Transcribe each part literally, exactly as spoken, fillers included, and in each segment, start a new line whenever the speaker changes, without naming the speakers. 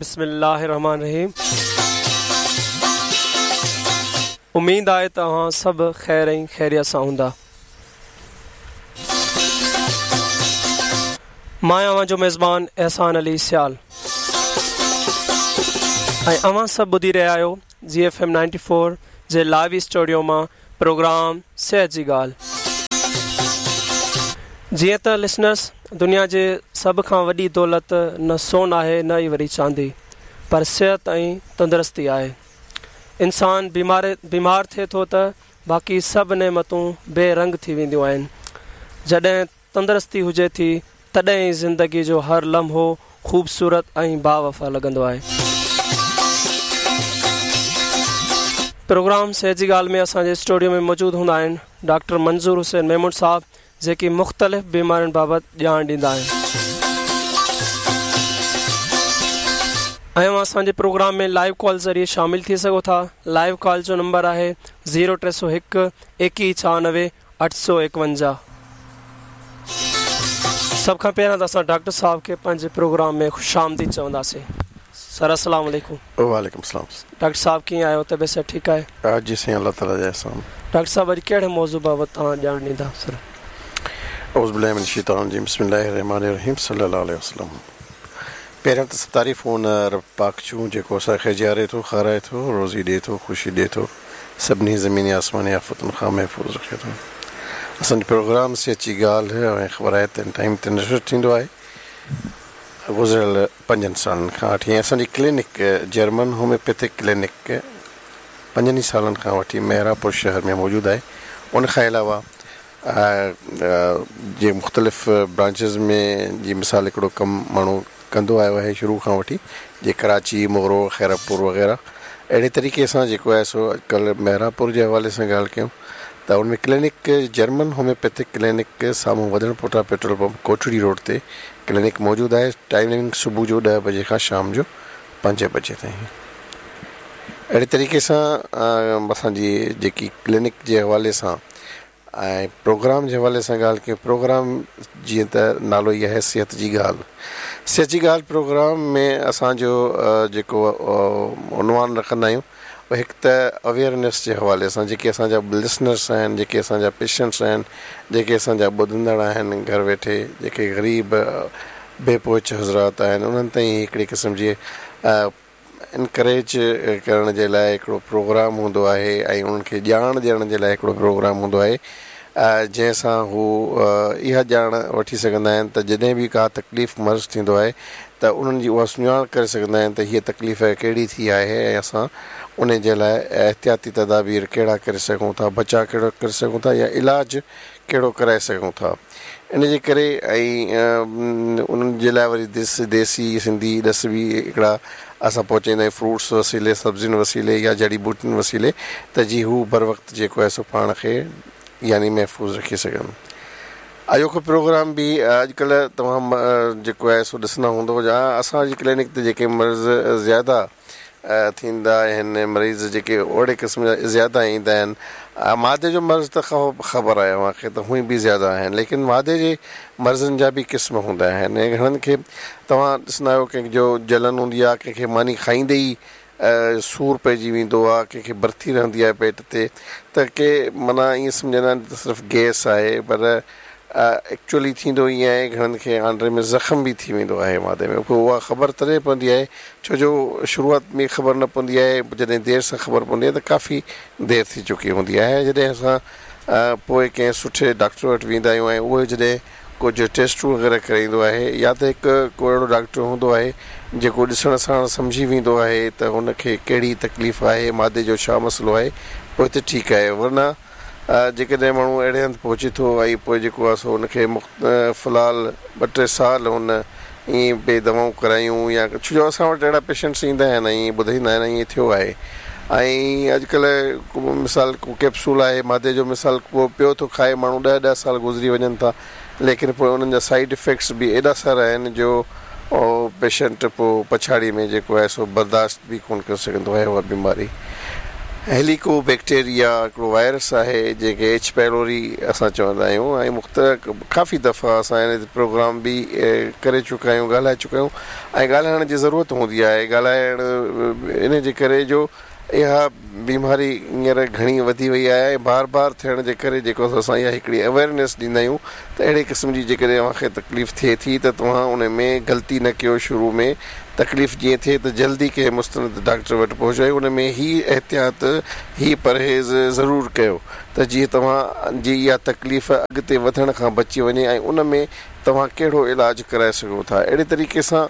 बिस्मिल्लाहिर्रहमानिर्रहीम। उम्मीद आहे त तव्हां सभु ख़ैर ऐं ख़ैरियत सां हूंदा। मां अव्हां जो मेज़बान एहसान अली सियाल ऐं अव्हां सभु ॿुधी रहिया आहियो G F M ninety four जे लाइव स्टूडियो मां प्रोग्राम सिहत जी ॻाल्हि। जीअं त लिसनर्स, दुनिया जे सभ खां वॾी दौलत न सोन आहे न ई वरी चांदी, पर सिहत ऐं तंदुरुस्ती आहे। इंसान बीमार बीमार थिए थो त बाक़ी सभु नेमतूं बेरंग थी वेंदियूं आहिनि। जॾहिं तंदुरुस्ती हुजे थी तॾहिं ई ज़िंदगी जो हर लम्हो ख़ूबसूरत ऐं बावफ़ा लॻंदो आहे। प्रोग्राम सिहत जी ॻाल्हि में असांजे स्टूडियो में मौजूदु हूंदा आहिनि डॉक्टर मंज़ूर हुसैन मेमण साहब, जेके मुख़्तलिफ़ बीमारियुनि बाबति ॼाण ॾींदा आहिनि। ऐं असांजे प्रोग्राम में लाइव कॉल ज़रिए शामिल थी सघो था। लाइव कॉल जो नंबर आहे ज़ीरो टे सौ हिकु एकवीह छहानवे अठ सौ एकवंजाह। सभ खां पहिरियां त असां डॉक्टर साहब खे पंहिंजे प्रोग्राम में ख़ुशि आमदीद चवंदासीं। सर अस्सलाम वालेकुम।
वालेकुम सलाम।
डॉक्टर साहब कीअं आहियो? तबियत सभु ठीकु आहे?
जी साईं, अल्लाह ताला जा एहसान।
डॉक्टर साहब, अॼु कहिड़े मौज़ू बाबति तव्हां ॼाण ॾींदा? सर
औज़ु बिल्लाहि मिनश शैतानिर रजीम, बिस्मिल्लाहिर्रहमानिर्रहीम, सल्लल्लाहु अलैहि वसल्लम। पहिरियों त तारीफ़ उन रब पाक जूं जेको असांखे जीआरे थो, खाराए थो, रोज़ी ॾिए थो, ख़ुशी ॾिए थो, सभिनी ज़मीनी आसमानी आफ़तुनि खां महफ़ूज़ रखे थो। असांजो प्रोग्राम सिहत जी ॻाल्हि ऐं ख़बर आहे त टाइम ते नशर थींदो आहे गुज़िरियल पंजनि सालनि खां वठी। ऐं असांजी क्लिनिक जर्मन होम्योपैथिक क्लिनिक पंजनि ई सालनि खां वठी मेहरापुर शहर में मौजूदु आहे। उन खां अलावा जे मुख़्तलिफ़ ब्रांचेस में जी मिसाल हिकिड़ो कमु माण्हू कंदो आयो आहे शुरू खां वठी, जे कराची, मोरो, ख़ैरपुर वग़ैरह, अहिड़े तरीक़े सां जेको आहे सो अॼुकल्ह मेहरापुर जे हवाले सां ॻाल्हि कयूं त उन में क्लिनिक जर्मन होम्योपैथिक क्लिनिक साम्हूं वधण पोटा पेट्रोल पंप कोटड़ी रोड ते क्लिनिक मौजूदु आहे। टाइमिंग सुबुह जो ॾह बजे खां शाम जो पंज बजे ताईं। अहिड़े तरीक़े सां असांजी जेकी क्लिनिक जे हवाले सां ऐं प्रोग्राम जे हवाले सां ॻाल्हि कयूं, प्रोग्राम जीअं त नालो ई आहे सिहत जी ॻाल्हि। सिहत जी ॻाल्हि प्रोग्राम में असांजो जेको उनवान रखंदा आहियूं हिकु त अवेयरनेस जे हवाले सां, जेके असांजा लिसनर्स आहिनि, जेके असांजा पेशेंट्स आहिनि, जेके असांजा ॿुधंदड़ आहिनि घर वेठे, जेके ग़रीब बेपहुच हज़रात आहिनि, उन्हनि ताईं हिकिड़े क़िस्म जी इनकरेज करण जे लाइ हिकिड़ो प्रोग्राम हूंदो आहे ऐं उन्हनि खे ॼाण ॾियण जे लाइ हिकिड़ो प्रोग्राम हूंदो आहे, जंहिंसां हू इहा ॼाण वठी सघंदा आहिनि त जॾहिं बि का तकलीफ़ मर्ज़ थींदो आहे त उन्हनि जी उहा सुञाण करे सघंदा आहिनि त हीअ तकलीफ़ कहिड़ी थी आहे ऐं असां उन जे लाइ एहतियाती तदाबीर कहिड़ा करे सघूं था, बचाव कहिड़ो करे सघूं था या इलाज कहिड़ो कराए सघूं था। इन जे करे ऐं उन्हनि जे लाइ वरी देस देसी सिंधी ॾस बि हिकिड़ा असां पहुचाईंदा आहियूं फ्रूट्स वसीले, सब्ज़ियुनि वसीले या जड़ी बूटियुनि वसीले, त जीअं हू बर वक़्तु जेको आहे सो पाण खे यानी महफ़ूज़ रखी सघनि। अॼोको प्रोग्राम बि अॼुकल्ह तव्हां जेको आहे सो ॾिसंदा हूंदव या असांजी क्लिनिक ते जेके मर्ज़ ज़्यादा थींदा आहिनि, मरीज़ जेके अहिड़े क़िस्म जा ज़्यादा ईंदा आहिनि, मादे जो मर्ज़ त ख़बर आहे तव्हांखे त हूअं बि ज़्यादा आहिनि, लेकिन मादे जे मर्ज़नि जा बि क़िस्म हूंदा आहिनि। घणनि खे तव्हां ॾिसंदा आहियो कंहिंजो जलन हूंदी आहे, कंहिंखे मानी खाईंदे ई सूर पइजी वेंदो आहे, कंहिंखे बर्थी रहंदी आहे पेट ते, त के माना ईअं सम्झंदा आहिनि त सिर्फ़ु गैस आहे, पर एक्चुअली थींदो ईअं आहे घणनि खे आंडे में ज़ख़म बि थी वेंदो आहे मादे में। पोइ उहा ख़बर तॾहिं पवंदी आहे, छो जो शुरूआत में ख़बर न पवंदी आहे, जॾहिं देरि सां ख़बर पवंदी आहे त काफ़ी देरि थी चुकी हूंदी आहे। जॾहिं असां पोइ कंहिं सुठे डॉक्टर वटि वेंदा आहियूं ऐं उहो जॾहिं कुझु टेस्टूं वग़ैरह कराईंदो आहे या त हिकु को अहिड़ो डॉक्टर हूंदो आहे जेको ॾिसण सां सम्झी वेंदो आहे त हुनखे कहिड़ी तकलीफ़ आहे, मादे जो छा मसइलो आहे, पोइ त ठीकु आहे। वरना जेकॾहिं माण्हू अहिड़े हंधि पहुचे थो ऐं पोइ जेको आहे सो हुनखे फ़िलहालु ॿ टे साल हुन ईअं पए दवाऊं करायूं या छो जो असां वटि अहिड़ा पेशेंट्स ईंदा आहिनि ऐं ॿुधाईंदा आहिनि ईअं थियो आहे। ऐं अॼुकल्ह मिसाल को कैप्सूल आहे मादे जो, मिसाल को पियो थो खाए माण्हू, ॾह ॾह साल गुज़री वञनि था, लेकिन पोइ उन्हनि जा साइड इफ़ेक्ट्स बि एॾा सारा आहिनि जो पेशेंट पोइ पछाड़ीअ में जेको आहे सो बर्दाश्त बि कोन करे सघंदो आहे उहा बीमारी। هيليڪو بيڪٽيريا هڪڙو وائرس آهي جنهن کي ايڇ پيلوري اسان چوندا آهيون ۽ مختلف ڪافي دفعا اسان هن تي پروگرام به ڪري چڪا آهيون، ڳالهائي چڪا آهيون ۽ ڳالهائڻ جي ضرورت هوندي آهي. ڳالهائڻ ان جي ڪري جو اها بيماري هينئر گهڻي وڌي وئي آهي ۽ بار بار ٿيڻ جي ڪري جيڪو اسان اها هڪڙي اويئرنيس ڏيندا آهيون ته اهڙي قسم جي جيڪڏهن اوهان کي تڪليف ٿئي ٿي ته توهان ان ۾ غلطي نه ڪيو، شروع ۾ تڪليف جيئن ٿئي ته جلدي ڪنهن مستند ڊاڪٽر وٽ پهچو ۽ ان ۾ هي احتياط هي پرهيز ضرور ڪيو ته جيئن توهان جي اها تڪليف اڳتي وڌڻ کان بچي وڃي ۽ ان ۾ توهان ڪهڙو علاج ڪرائي سگهو ٿا. اهڙي طريقي سان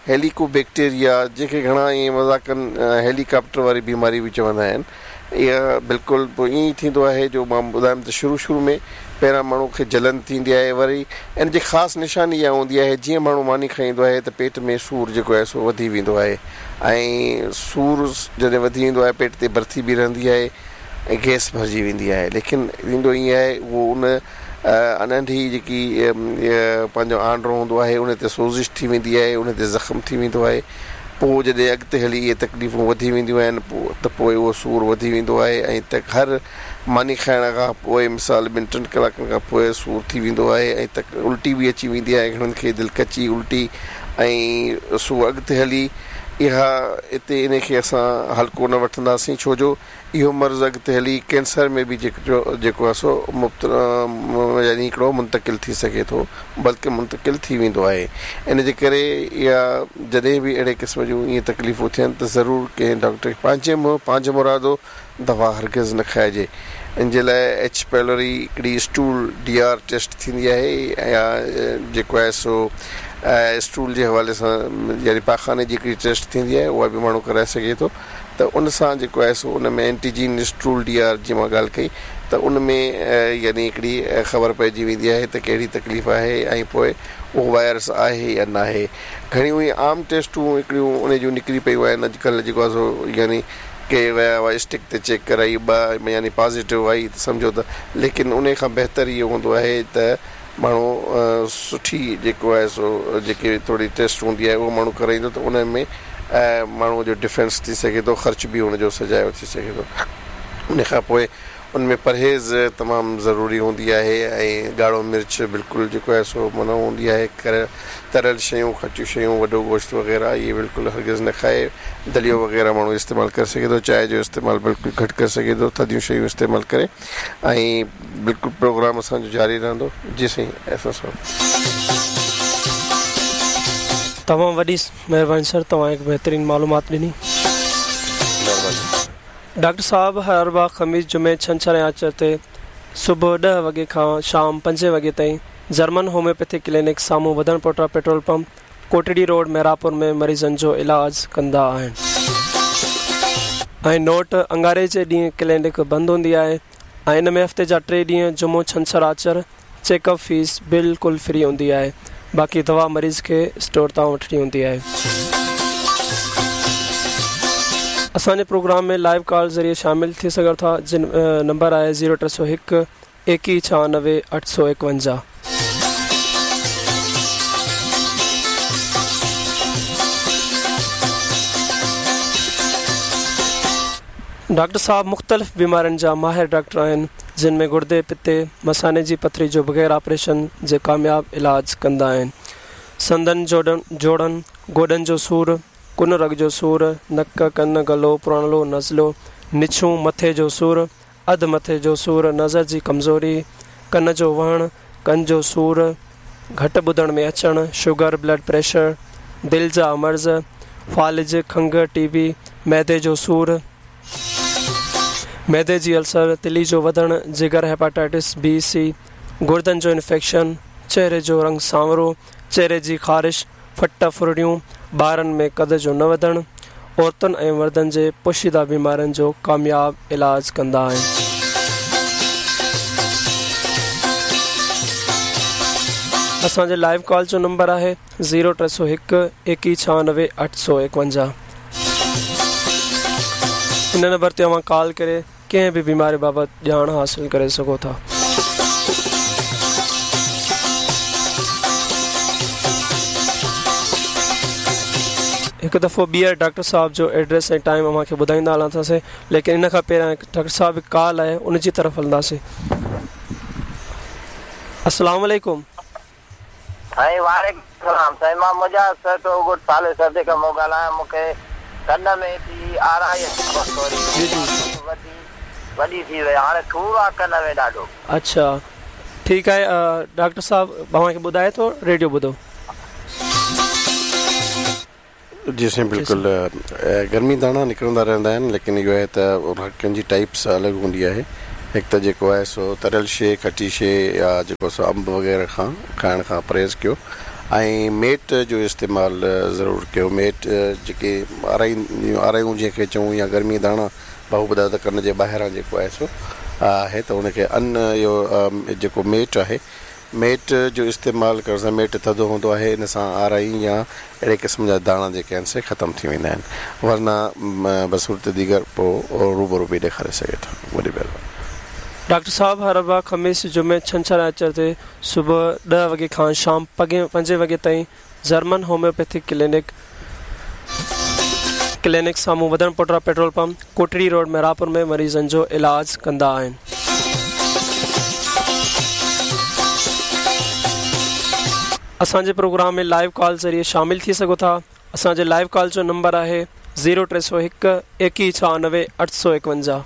هيليڪو بيڪٽيريا جنهن کي گهڻا ائين مذاقن هيليڪاپٽر واري بيماري به چوندا آهن، اها بلڪل پوء ائين ئي ٿيندو آهي جو مان ٻڌايم ته شروع شروع ۾ پهريان ماڻهو کي جلن ٿيندي آهي، وري ان جي خاص نشاني اها هوندي آهي جيئن ماڻهو ماني کائيندو آهي ته پيٽ ۾ سور جيڪو آهي سو وڌي ويندو آهي ۽ سور جڏهن وڌي ويندو آهي پيٽ تي برٿي به رهندي آهي ۽ گئس ڀرجي ويندي آهي. ليڪن ٿيندو ائين آهي اهو ان ننڍي جيڪي پنهنجو آنڊرو هوندو آهي ان تي سوزش ٿي ويندي آهي، ان تي زخم ٿي ويندو آهي. پوء جڏهن اڳتي هلي اهي تڪليفون وڌي وينديون آهن پوء ته پوء اهو سور وڌي ويندو آهي ۽ ته هر ماني کائڻ کان پوء مثال ٻن ٽن ڪلاڪن کان پوء سور ٿي ويندو آهي ۽ ته الٽي به اچي ويندي آهي گهڻن کي دل ڪچي الٽي ۽ سو اڳتي هلي اها اتي ان کي اسان هلڪو نه وٺنداسين ڇو جو اهو مرض اڳتي هلي ڪينسر ۾ به جيڪو آهي سو يعني هڪڙو منتقل ٿي سگهي ٿو بلڪه منتقل ٿي ويندو آهي. ان جي ڪري اها جڏهن به اهڙي قسم جون ائين تڪليفون ٿين ته ضرور ڪنهن ڊاڪٽر کي پنهنجي منهن پنهنجي مرادو دوا هرگز نه کائجي. ان جي لاء ايڇ پيلوري هڪڙي اسٽول ڊي آر ٽيسٽ ٿيندي آهي يا جيڪو آهي سو اسٽول جي حوالي سان يعني پاخاني جي هڪڙي ٽيسٽ ٿيندي آهي اها به ماڻهو ڪرائي سگهي ٿو ته ان سان جيڪو آهي سو ان ۾ اينٽيجين اسٽول ڊي آر جي مان ڳالهه ڪئي ته ان ۾ يعني هڪڙي خبر پئجي ويندي آهي ته ڪهڙي تڪليف آهي ۽ پوء اهو وائرس آهي يا ناهي. گهڻيون ئي عام ٽيسٽون هڪڙيون ان جون نڪري پيون آهن اڄڪلهه جيڪو آهي سو يعني ڪي ويا هئا اسٽڪ تي چيڪ ڪرائي ٻه يعني پازيٽو آئي ته سمجهو ته ليڪن ان کان بهتر اهو هوندو آهي ته ماڻهو سٺي جيڪو آهي سو جيڪي ٿوري ٽيسٽ هوندي آهي اهو ماڻهو ڪرائيندو ته ان ۾ ماڻهوء جو ڊفينس ٿي سگهي ٿو، خرچ به ان جو سجايو ٿي سگهي ٿو. ان کان پوء ان ۾ پرهيز تمام ضروري هوندي آهي ۽ ڳاڙهو مرچ بلڪل جيڪو آهي سو منع هوندي آهي. تريل شيون، کٽيون شيون، وڏو گوشت وغيره اهي بلڪل هرگز نه کائي. دليو وغيره ماڻهو استعمال ڪري سگهي ٿو، چانهه جو استعمال بلڪل گهٽ ڪري سگهي ٿو، ٿڌيون شيون استعمال ڪري ۽ بلڪل پروگرام اسان جو جاري رهندو. جي سائين احسان صاحب.
تمام وڏي مهرباني سر توهان هڪ بهترين معلومات ڏني.
مهرباني.
ڊاڪٽر صاحب هر اربع، خميس، جمعي، ڇنڇر ۽ آچر تي صبح ڏهه وڳي کان شام پنجين وڳي تائين جرمن هوميوپيٿڪ ڪلينڪ سامهون وڌڻ پوٽا petrol pump Kotri road Mehrabpur ۾ مريضن جو علاج ڪندا آهن ۽ نوٽ اڱاري جي ڏينهن ڪلينڪ بند هوندي آهي ۽ ان ۾ هفتي جا ٽي ڏينهن جمعو ڇنڇر آچر چيڪ اپ فيس بلڪل فري هوندي آهي باقي دوا مريض کي اسٽور تان وٺڻي هوندي آهي. اسان جي پروگرام ۾ لائيو ڪال ذريعي شامل ٿي سگهو ٿا جن نمبر آهي زيرو ٽي سؤ هڪ ايڪيهه ڇهانوي اٺ سؤ ايڪونجاهه. ڊاڪٽر صاحب مختلف بيمارين جا ماهر ڊاڪٽر آهن جن ۾ گردي، پتي، مثاني جي پٿري جو بغير آپريشن جي ڪامياب علاج ڪندا آهن. سنڌن، جوڙن، گوڏن جو سور، ڪن رڳ جو سور، نڪ، ڪن، گلو، پرانلو، نزلو، نڇون، مٿي جو سور، اڌ مٿي جو سور، نظر جي ڪمزوري، ڪن جو وهڻ، ڪن جو سور، گهٽ ٻڌڻ ۾ اچڻ، شگر، بلڊ پريشر، دل جا مرض، فالج، کنگهه، ٽي بي، معدي جو سور، معدي جي السر، تلي جو وڌڻ، جگر، هيپاٽائٽس بي، سي، گردن جو انفيڪشن، چهري جو رنگ سانورو، چهري جي خارش، ڦٽ ڦرڙيون، ٻارن ۾ قد جو نه وڌڻ، عورتن ۽ مردن جي پوشيده بيمارين جو ڪامياب علاج ڪندا آهن. اسان جي لائيو ڪال جو نمبر آهي زيرو ٽي سؤ هڪ ايڪيهه ڇهانوي اٺ سؤ ايڪونجاهه. ان نمبر تي اوهان ڪال ڪري ڪنهن به بيماري بابت ڄاڻ حاصل ڪري سگهو ٿا. هڪ دفعو ٻيهر ڊاڪٽر صاحب جو ايڊريس ۽ ٽائيم اوهان کي ٻڌائيندا هلنداسين، ليڪن ان کان پهريان ڊاڪٽر صاحب هڪ ڪال آهي ان جي طرف هلنداسين. السلام عليڪم.
سائين وعليڪم السلام. سائين مان مجاهد سهتو ڳوٺ صالح سردي کان مون ڳالهايان. مون کي ڪن ۾ ٿي آرائي ٿوري
جي جي
وڌي وڏي ٿي وئي، هاڻي سور آ ڪن ۾ ڏاڍو.
اڇا ٺيڪ آهي، ڊاڪٽر صاحب اوهان کي ٻڌائي ٿو، ريڊيو ٻڌو.
جي سائين بلڪل، گرمي داڻا نڪرندا رهندا آهن، ليڪن اهو آهي ته هر ڪنهن جي ٽائپس الڳ هوندي آهي. هڪ ته جيڪو آهي سو تريل شيء، کٽي شيء يا جيڪو سو انب وغيره کان کائڻ کان پرهيز ڪيو ۽ ميٽ جو استعمال ضرور ڪيو. ميٽ جيڪي آرائي آرايون جنهن کي چئون يا گرمي داڻا، ڀائو ٻڌايو ته ڪن جي ٻاهران جيڪو آهي سو آهي ته ان کي ان اهو جيڪو ميٽ آهي، ميٽ جو استعمال ڪرڻ سان، ميٽ ٿڌو هوندو آهي، ان سان آرائي يا اهڙي قسم جا داڻا جيڪي آهن سي ختم ٿي ويندا آهن، ورنه بصورت ديگر پوء روبرو به ڏيکاري سگهي ٿو. وڏي مهرباني.
ڊاڪٽر صاحب هر اربع، خميس، جمعي، ڇنڇر ۽ آچر تي صبح ڏهه وڳي کان شام پنجين وڳي تائين جرمن هوميوپيٿڪ ڪلينڪ ڪلينڪ سامهون وڌڻ پوٽرا petrol pump Kotri road Mehrabpur ۾ مريضن جو علاج ڪندا آهن. اسان جي پروگرام ۾ لائيو ڪال ذريعي شامل ٿي سگهو ٿا. اسان جي لائيو ڪال جو نمبر آهي زيرو ٽي سؤ هڪ ايڪيهه ڇهانوي اٺ سؤ ايڪونجاهه.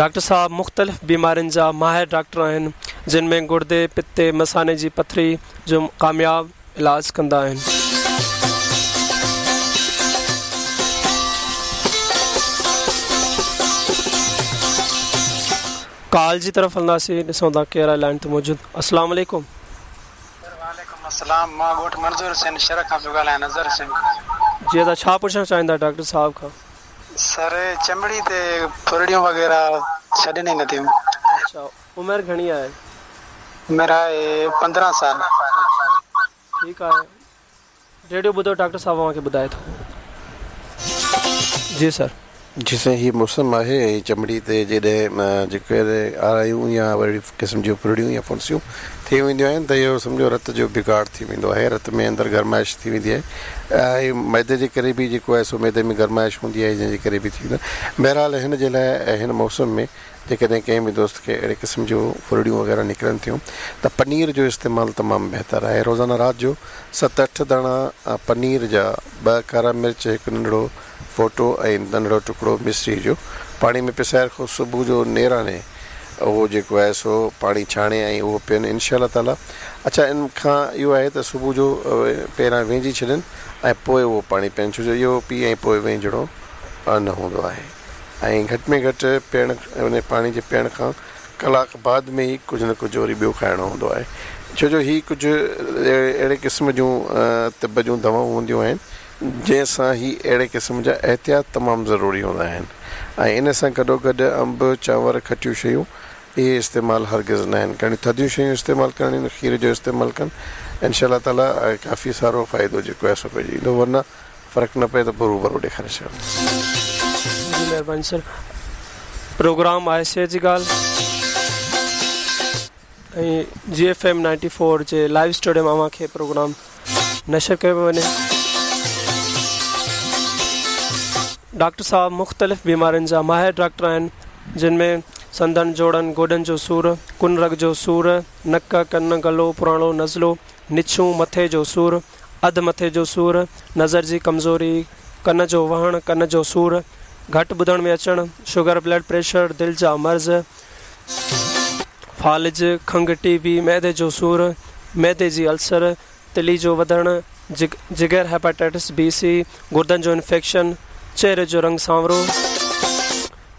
ڊاڪٽر صاحب مختلف بيمارين جا ماهر ڊاڪٽر آهن، جن ۾ گردي، پتي، مثاني جي پٿري جو ڪامياب علاج ڪندا آهن. ڪال جي طرف هلنداسين، ڏسون ٿا ڪير آهي لائن تي موجود. السلام عليڪم.
سر وعليڪم السلام، مان ڳوٺ منظور حسين شھر کان پيو ڳالهايان، نظر حسين.
جي ادا ڇا پڇڻ چاهيندا ڊاڪٽر صاحب کان؟
سر چمڙي تي ڦرڙيون وغيره ڇڏن ئي نٿيون.
اڇا عمر گهڻي آهي؟
عمر آهي پندرهن سال.
ٺيڪ آهي، ريڊيو ٻڌو، ڊاڪٽر صاحب اوهان کي ٻڌائي ٿو. جي سر.
جي سائين هي موسم آهي ۽ چمڙي تي جڏهن جيڪي آرايون يا اهڙي قسم جون ڦرڙيون يا ڦنسيون ٿي وينديون آهن ته اهو سمجهو رت جو بگاڙ ٿي ويندو آهي، رت ۾ اندر گرمائش ٿي ويندي آهي ۽ معدي جي ڪري به جيڪو آهي سو معدي ۾ گرمائش هوندي آهي جنهن جي ڪري به ٿي ويندو آهي. بهرحال هن جي لاء هن موسم ۾ جيڪڏهن ڪنهن به دوست کي اهڙي قسم جون ڦرڙيون وغيره نڪرن ٿيون ته پنير جو استعمال تمام بهتر آهي. روزانه رات جو ست اٺ داڻا پنير جا، ٻه ڪارا مرچ، هڪ ننڍڙو ڦوٽو ۽ ننڍڙو ٽڪڙو مصري جو پاڻي ۾ پسائي رکو. صبح جو نيراني اهو جيڪو آهي سو پاڻي ڇاڻي ۽ اهو پين انشاء الله تعاليٰ. اڇا ان کان اهو آهي ته صبح جو پهريان وينجهي ڇڏن ۽ پوءِ اهو پاڻي پين، ڇو جو اهو پي ۽ پوءِ وينجهڻو نه هوندو آهي. ۽ گهٽ ۾ گهٽ پيئڻ ان پاڻي جي پيئڻ کان ڪلاڪ بعد ۾ ئي ڪجهه نه ڪجهه وري ٻيو کائڻو هوندو آهي، ڇو جو هي ڪجهه اهڙي قسم جون طب جون دوائون هونديون آهن جنهن سان هي اهڙي قسم جا احتياط تمام ضروري هوندا آهن. ۽ ان سان گڏو گڏ انب، چانور، کٽيون شيون اهي استعمال هرگز نه آهن ڪرڻيون، ٿڌيون شيون استعمال ڪرڻيون، کير جو استعمال ڪن، انشاء الله تعاليٰ ڪافي سارو فائدو جيڪو آهي سو پئجي ويندو، ورنه فرق نه پئي ته پوءِ روبرو ڏيکاري ڇڏيو.
جي مهرباني سر. پروگرام آهي صحت جي ڳالهه ۽ جي ايف ايم نائنٽي فور جي لائيو اسٽوڊيو ۾ اوهان کي پروگرام نشر ڪيو پيو وڃي. ڊاڪٽر صاحب مختلف بيمارين جا ماهر ڊاڪٽر آهن، جن ۾ سنڌن، جوڙن، گوڏن جو سور، ڪن رڳ جو سور، نڪ، ڪن، گلو، پراڻو نزلو، نڇون، مٿي جو سور، اڌ مٿي جو سور، نظر جي ڪمزوري، ڪن جو وهڻ، ڪن جو سور، گهٽ ٻڌڻ ۾ اچڻ، شگر، بلڊ پريشر، دل جا مرض، فالج، کنگهه، ٽي بي، معدي جو سور، معدي جي السر، تلي جو وڌڻ، جگر، هيپاٽائٽس بي سي، گردن جو انفيڪشن، چهري جو رنگ سانورو،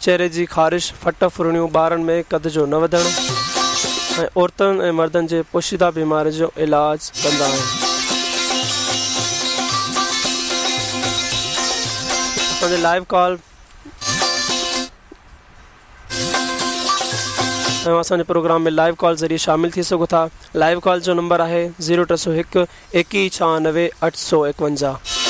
چهري جي خارش، ڦٽ ڦرڻيون، ٻارن ۾ قد جو نه وڌڻ ۽ عورتن ۽ مردن جي پوشيده بيمارين جو علاج ڪندا آهن. اسان جي لائيو ڪال ۽ اسان جي پروگرام ۾ لائيو ڪال ذريعي شامل ٿي سگهو ٿا. لائيو ڪال جو نمبر آهي زيرو ٽي سؤ هڪ ايڪيهه ڇهانوي اٺ سؤ ايڪونجاهه.